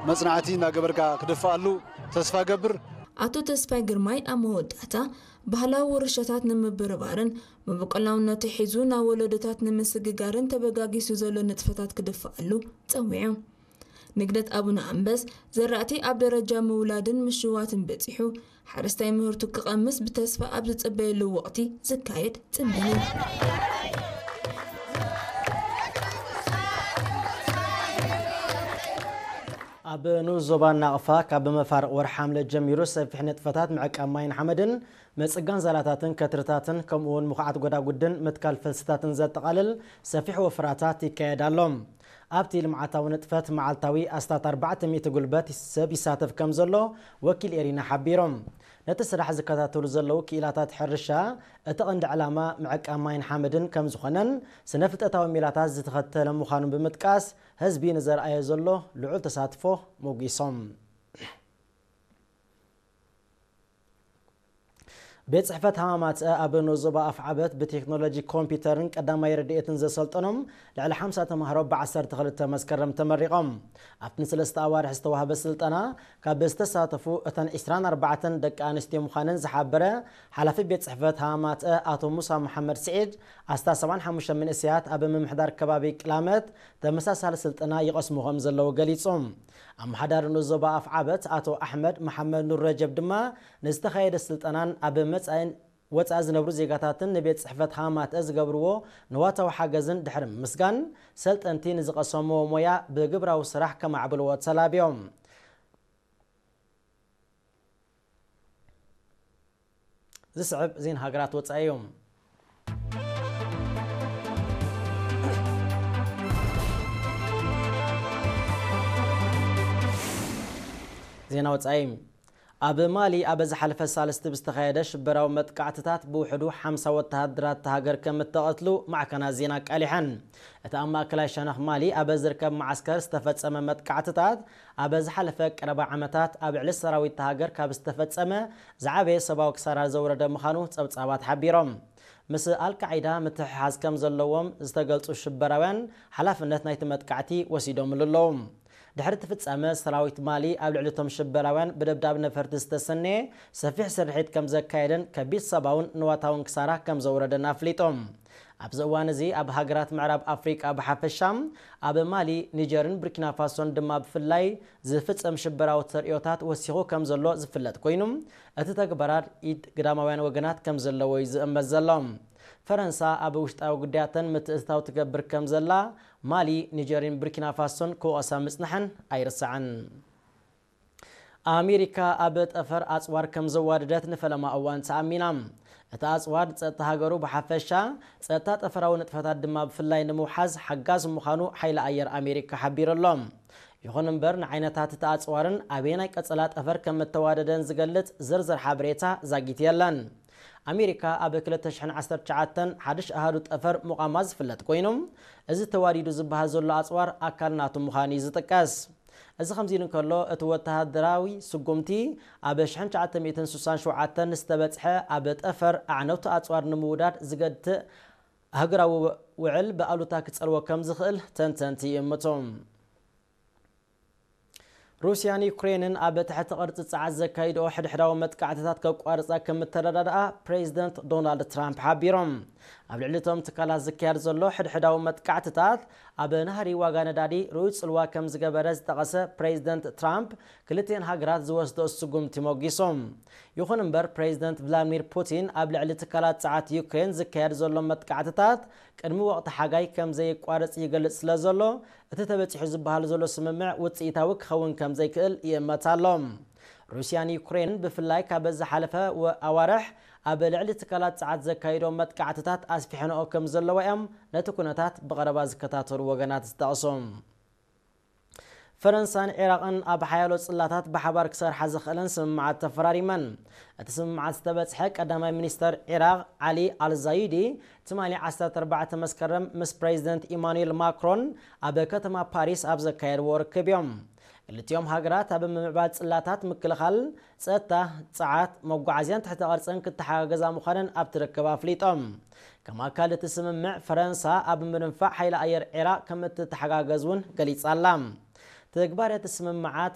መጽናዕቲ እናገበርካ ክድፍኣሉ ተስፋ ገብር። ኣቶ ተስፋይ ግርማይ ኣብ መወዳእታ፣ ባህላዊ ውርሻታት ንምብርባርን መበቆላውነቱ ሒዙ ናብ ወለዶታት ንምስግጋርን ተበጋጊሱ ዘሎ ንጥፈታት ክድፍኣሉ ጸዊዑ። ንግደት ኣቡነ ኣንበስ ዘራእቲ ኣብ ደረጃ ምውላድን ምሽዋትን በጺሑ፣ ሓረስታይ ምህርቱ ክቐምስ ብተስፋ ኣብ ዝጽበየሉ ወቕቲ ዝካየድ ጽምብል እዩ። ኣብ ንኡስ ዞባ ናቕፋ ካብ መፋርቕ ወርሒ ሓምለ ጀሚሩ ሰፊሕ ንጥፈታት ምዕቃብ ማይን ሓመድን፣ ምጽጋን ዛላታትን ከትርታትን፣ ከምኡ እውን ምኹዓት ጎዳጉድን ምትካል ፈልስታትን ዘጠቓልል ሰፊሕ ወፍራታት ይካየድ ኣሎ። ኣብቲ ልምዓታዊ ንጥፈት መዓልታዊ ኣስታት ኣርባዕተ ሚእቲ ጉልበት ሰብ ይሳተፍ ከም ዘሎ ወኪል ኤሪና ሓቢሮም። ነቲ ስራሕ ዝከታተሉ ዘለዉ ክኢላታት ሕርሻ፣ እቲ ቀንዲ ዕላማ ምዕቃብ ማይን ሓመድን ከም ዝኾነን ስነ ፍልጠታዊ ሜላታት ዝተኸተለ ምዃኑ ብምጥቃስ፣ ህዝቢ ንዘርኣዮ ዘሎ ልዑል ተሳትፎ ሞጒሶም። ቤት ጽሕፈት ሃማማትአ ኣብ ንኡስ ዞባ ኣፍዓበት ብቴክኖሎጂ ኮምፒውተርን ቀዳማይ ረድኤትን ዘሰልጠኖም ልዕሊ ሓምሳ ተማሃሮ ብዓሰርተ ክልተ መስከረም ተመሪቖም። ኣብቲ ንሰለስተ ኣዋርሕ ዝተዋህበ ስልጠና ካብ ዝተሳተፉ እተን ዕስራን ኣርባዕተን ደቂ ኣንስትዮ ምዃነን ዝሓበረ ሓላፊ ቤት ጽሕፈት ሃማማትአ ኣቶ ሙሳ መሓመድ ስዒድ፣ ኣስታት ሰብዓን ሓሙሽተን መንእሰያት ኣብ ምምሕዳር ከባቢ ቅላመት ተመሳሳሊ ስልጠና ይቐስሙ ከም ዘለዉ ገሊጹ። ኣመሓዳሪ ንኡስ ዞባ ኣፍዓበት ኣቶ ኣሕመድ መሓመድ ኑር ረጀብ ድማ፣ ንዝተኻየደ ስልጠናን ኣብ መጻኢን ወጻኢ ዝነብሩ ዜጋታትን ንቤት ጽሕፈት ሃማማትአ ዝገብርዎ ንዋታዊ ሓገዝን ድሕሪ ምምስጋን፣ ሰልጠንቲ ንዝቐሰምዎ ሞያ ብግብራዊ ስራሕ ከማዕብልዎ ተላብዮም። ዝስዕብ ዜና ሃገራት ወጻኢ እዩ። ዜና ወጻኢ። ኣብ ማሊ ኣብ ዝሓለፈ ሳልስቲ ብዝተኻየደ ሽበራዊ መጥቃዕትታት ብውሕዱ ሓምሳ ወተሃደራት እታ ሃገር ከም እተቐትሉ ማዕከናት ዜና ኣቃሊሐን። እቲ ኣብ ማእከላይ ሸነኽ ማሊ ኣብ ዝርከብ መዓስከር ዝተፈጸመ መጥቃዕትታት፣ ኣብ ዝሓለፈ ቀረባ ዓመታት ኣብ ልዕሊ ሰራዊት እታ ሃገር ካብ ዝተፈጸመ ዝዓበየ ሰብኣዊ ክሳራ ዘውረደ ምዃኑ ጸብጻባት ሓቢሮም። ምስ ኣልቃዒዳ ምትሕሓዝ ከም ዘለዎም ዝተገልጹ ሽበራውያን፣ ሓላፍነት ናይቲ መጥቃዕቲ ወሲዶምሉ ኣለዉ። ድሕሪ እቲ ፍጻመ፣ ሰራዊት ማሊ ኣብ ልዕሊ እቶም ሽበራውያን ብደብዳብ ነፈርቲ ዝተሰነየ ሰፊሕ ስርሒት ከም ዘካየደን ከቢድ ሰብኣውን ንዋታውን ክሳራ ከም ዘውረደን ኣፍሊጦም። ኣብዚ እዋን እዚ፣ ኣብ ሃገራት ምዕራብ ኣፍሪቃ ብሓፈሻ፣ ኣብ ማሊ፣ ኒጀርን ቡርኪና ፋሶን ድማ ብፍላይ ዝፍጸም ሽበራዊ ተርእዮታት ወሲኹ ከም ዘሎ ዝፍለጥ ኮይኑ፣ እቲ ተግባራት ኢድ ግዳማውያን ወገናት ከም ዘለዎ እዩ ዝእመት ዘሎ። ፈረንሳ ኣብ ውሽጣዊ ጉዳያተን ምትእትታው ትገብር ከም ዘላ፣ ማሊ፣ ኒጀርን ቡርኪና ፋሶን ክወቐሳ ምጽንሐን ኣይርሳዕን። ኣሜሪካ ኣብ ጠፈር ኣጽዋር ከም ዘዋደደት ንፈለማ እዋን ተኣሚና። እቲ ኣጽዋር ጸጥታ ሃገሩ ብሓፈሻ፣ ጸጥታ ጠፈራዊ ንጥፈታት ድማ ብፍላይ ንምውሓዝ ሓጋዝ ምዃኑ ሓይሊ ኣየር ኣሜሪካ ሓቢሩ ኣሎ። ይኹን እምበር፣ ንዓይነታት እቲ ኣጽዋርን ኣበየናይ ቀጸላ ጠፈር ከም እተዋደደን ዝገልጽ ዝርዝር ሓበሬታ ዛጊት የለን። ኣሜሪካ ኣብ ክልተ ሽሕን ዓሰርተ ትሽዓተን ሓድሽ ኣሃዱ ጠፈር ምቋማ ዝፍለጥ ኮይኑ፣ እዚ ተዋዲዱ ዝበሃል ዘሎ ኣጽዋር ኣካል ናቱ ምዃኑ እዩ ዝጥቀስ። እዚ ከምዚ ኢሉ እንከሎ፣ እቲ ወተሃደራዊ ስጉምቲ ኣብ ሽሕን ትሽዓተ ሚእትን ስሳን ሸውዓተን ዝተበጽሐ ኣብ ጠፈር ኣዕነውቲ ኣጽዋር ንምውዳድ ዝገትእ ኣህጉራዊ ውዕል ብኣሉታ ክጸልዎ ከም ዝኽእል ተንተንቲ ይእምቱ። ሩስያን ዩክሬንን ኣብ ትሕቲ ቅርጺ ጸዓት ዘካይድኦ ሕድሕዳዊ መጥቃዕትታት ከቋርጻ ከም እተረዳድኣ ፕሬዚደንት ዶናልድ ትራምፕ ሓቢሮም። ኣብ ልዕሊ እቶም ትካላት ዝካየድ ዘሎ ሕድሕዳዊ መጥቃዕትታት፣ ኣብ ናህሪ ዋጋ ነዳዲ ርኡይ ጽልዋ ከም ዝገበረ ዝጠቐሰ ፕሬዚደንት ትራምፕ፣ ክልቲኤን ሃገራት ዝወስደኦ ስጉምቲ ሞጊሶም። ይኹን እምበር፣ ፕሬዚደንት ቭላድሚር ፑቲን ኣብ ልዕሊ ትካላት ጸዓት ዩክሬን ዝካየድ ዘሎ መጥቃዕትታት ቅድሚ ወቕቲ ሓጋይ ከም ዘየቋርጽ ይገልጽ ስለ ዘሎ፣ እቲ ተበጺሑ ዝበሃል ዘሎ ስምምዕ ውጽኢታዊ ክኸውን ከም ዘይክእል ይእመት ኣሎ። ሩስያን ዩክሬንን ብፍላይ ካብ ዝሓለፈ ወ-፣ ኣዋርሕ ኣብ ልዕሊ ትካላት ጸዓት ዘካይዶ መጥቃዕትታት ኣስፊሐንኦ ከም ዘለዋ እዮም ነቲ ኩነታት ብቐረባ ዝከታተሉ ወገናት ዝጠቕሱ። ፈረንሳን ዒራቕን ኣብ ሓያሎ ጽላታት ብሓባር ክሰርሓ ዝኽእለን ስምምዓት ተፈራሪመን። እቲ ስምምዓት ዝተበጽሐ ቀዳማይ ሚኒስተር ዒራቕ ዓሊ ኣልዛይዲ፣ ትማሊ ዓሰርተ ኣርባዕተ መስከረም ምስ ፕሬዚደንት ኢማኑኤል ማክሮን ኣብ ከተማ ፓሪስ ኣብ ዘካየድዎ ርክብ እዮም። ክልቲኦም ሃገራት ኣብ ምምዕባል ጽላታት ምክልኻል፣ ጸጥታ፣ ጸዓት፣ መጓዓዝያን ትሕተ ቅርጽን ክተሓጋገዛ ምዃነን ኣብቲ ርክብ ኣፍሊጦም። ከም ኣካል እቲ ስምምዕ፣ ፈረንሳ ኣብ ምድንፋዕ ሓይሊ ኣየር ዒራቕ ከም እትተሓጋገዝ እውን ገሊጻ ኣላ። ትግባረ እቲ ስምምዓት